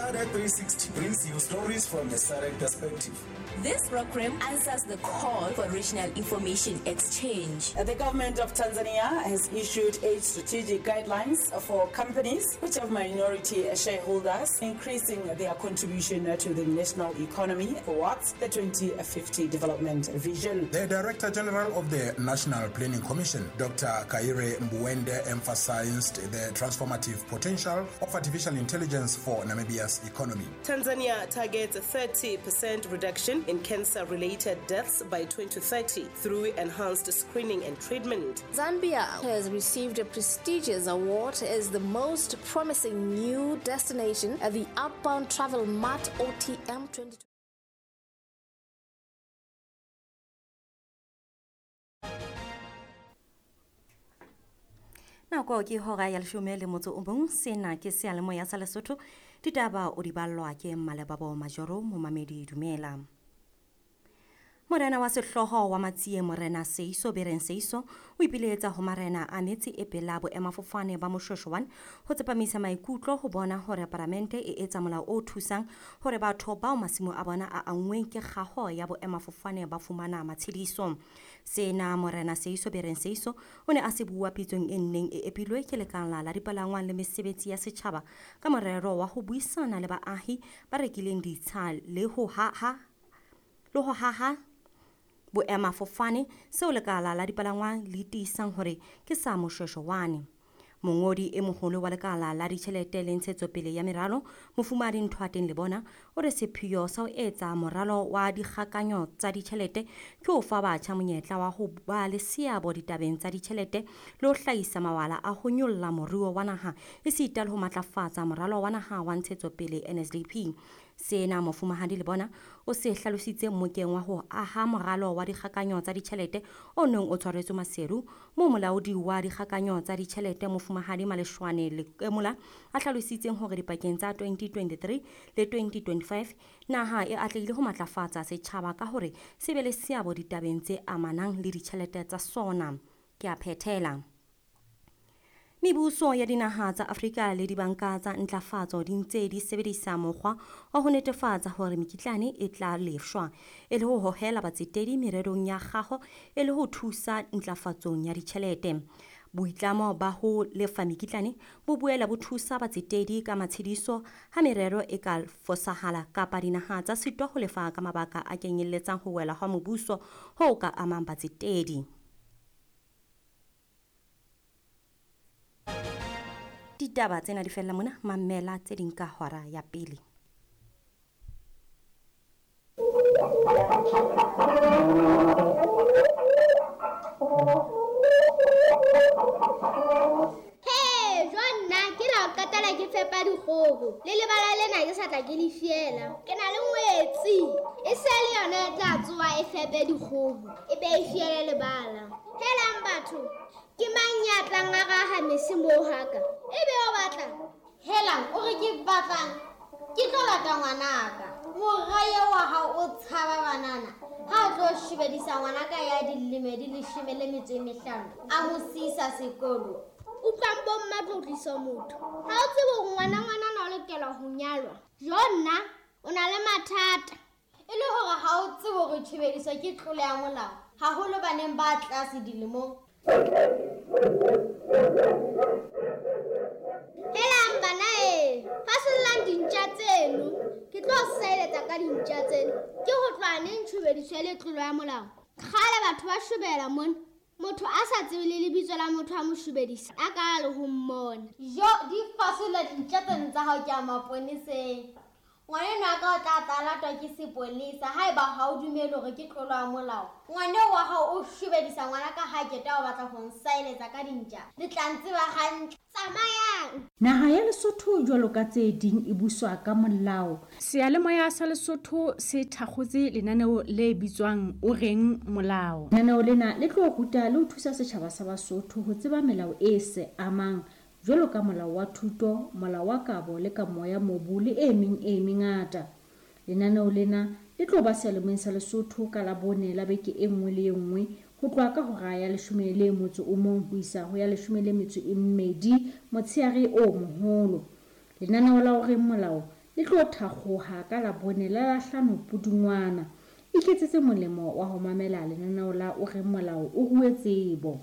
SADC 360 brings you stories from a SADC perspective. This program answers the call for regional information exchange. The government of Tanzania has issued 8 strategic guidelines for companies which have minority shareholders, increasing their contribution to the national economy towards the 2050 development vision. The Director General of the National Planning Commission, Dr. Kaire Mbuende, emphasized the transformative potential of artificial intelligence for Namibia's economy. Tanzania targets a 30% reduction in cancer-related deaths by 2030 through enhanced screening and treatment. Zambia has received a prestigious award as the most promising new destination at the Outbound Travel Mart OTM 2020. Nako ke hora ya leshome le motso o mong. Sena ke seyalemoya sa Lesotho. Ditaba o di ballwa ke Mmalebabo Majoro. Momamedi, dumela. Morena wa sehlooho wa Matsie, Morena Seiso Bereng Seiso, o ipiletsa ho marena a metse e pela boemafofane ba Moshoeshoe 1 ho tsepamisa maikutlo ho bona hore paramente e etsa molao o thusang hore batho bao masimo a bona a anngweng ke kgaho ya boemafofane ba fumana matshediso. Sena Morena Seiso Bereng Seiso o ne a se bua pitsong e nneng e epilwe ke lekala la dipalangwang le mesebetsi ya setjhaba ka morero wa ho buisana le baahi ba rekileng ditsha le ho haha boemafofane seo lekala la dipalangwang le tiisang hore ke sa Moshoeshoe 1. Mongodi e moholo wa lekala la ditjhelete le ntshetsopele ya meralo, Mofumahadi Nthoateng Lebona, o re sepheo sa ho etsa moralo wa dikgakanyo tsa ditjhelete ke ho fa batjha monyetla wa ho ba le seabo ditabeng tsa ditjhelete le ho hlahisa mawala a ho nyolla moruo wa naha esita le ho matlafatsa moralo wa naha wa ntshetsopele NSDP. Sena Mofumahadi Lebona o se hlalositse mmokeng wa ho aha moralo wa dikgakanyo tsa ditjhelete o neng o tshwaretswe Maseru, moo molaodi wa dikgakanyo tsa ditjhelete Mofumahadi Maleshwane Lekemola a hlalositseng hore dipakeng tsa 2023 le 2025 naha e atlehile ho matlafatsa setjhaba ka hore se be le seabo ditabeng tse amanang le ditjhelete tsa sona. Ke a phethela. Mebuso ya dinaha tsa Afrika le dibanka tsa ntlafatso di ntse di sebedisa mokgwa wa ho netefatsa hore mekitlane e tla lefshwa e le ho hohela batsetedi mererong ya kgaho e le ho thusa ntlafatsong ya ditjhelete. Boitlamo ba ho lefa mekitlane bo boela bo thusa batsetedi ka matshediso ha merero e ka fosahala kapa dinaha tsa sitwa ho lefa ka mabaka a kenyelletsang ho wela ha mobuso ho ka amang batsetedi. Ditaba tsena di fella mona, mamela tse ding ka hora ya pele. Hey, jonna ke la qetela ke fepa dikgoho. Le lebala lena ke sa tla ke le fiela. Ke na le ngwetsi. E se le yona e tla tsoa e fepe dikgoho. E be e fiele lebala. Helang batho, ke mang ya tlang a raha mese moo haka? E be o batla? Helang, o re ke batlang? Ke tlo lata ngwanaka. Moraya wa hao o tshaba banana. Ha o tlo shebedisa ngwanaka ya dilemo di 15, a mo siisa sekolo. Utlwang bomma tlotlisa motho. Ha o tsebe hore ngwana ngwanana o lokela ho nyalwa. Jonna, o na le mathata. E le hore ha o tsebe hore tshebediso ke tlolo ya molao, haholo baneng ba tlase dilemong. Helang bana e, fasollang dintja tseno. Ke tlo seletsa ka dintja tseno. Ke ho tloha neng tshebediso le tlolo ya molao? Kgale batho ba shobela mona. Motho a sa tsebe le lebitso la motho a mo shobedisa, a ka le ho mmona. Jo, di fasolla dintja tseno tsa hao ke a maponeseng. Ngwaneno a ka o tla tla latwa ke sepolesa haeba ha o dumele hore ke tlolo ya molao. Ngwaneo wa hao o shobedisa ngwana ka ha keta o batla ho nsaeletsa ka dintja. Le tla ntseba hantle. Tsamayang. Naha ya Lesotho jwalo ka tse ding e buswa ka molao. Seyalemoya sa Lesotho se thakgotse lenaneo le bitswang O Reng Molao. Lenaneo lena le tlo ruta le ho thusa setjhaba sa Basotho ho tseba melao e se amang jwalo ka molao wa thuto, molao wa kabo le kamo ya mobu le e meng e mengata. Lenaneo lena le tlo ba seyalemoyeng sa Lesotho ka Labone la beke e nngwe le e nngwe ho tloha ka hora ya 11 ho isa ho ya 12 motsheare o moholo. Lenaneo la O Reng Molao Le tlo thakgoha ka Labone la Lahlano Pudungwana. Iketsetse molemo wa ho mamela lenaneo la O Reng Molao o rue tsebo.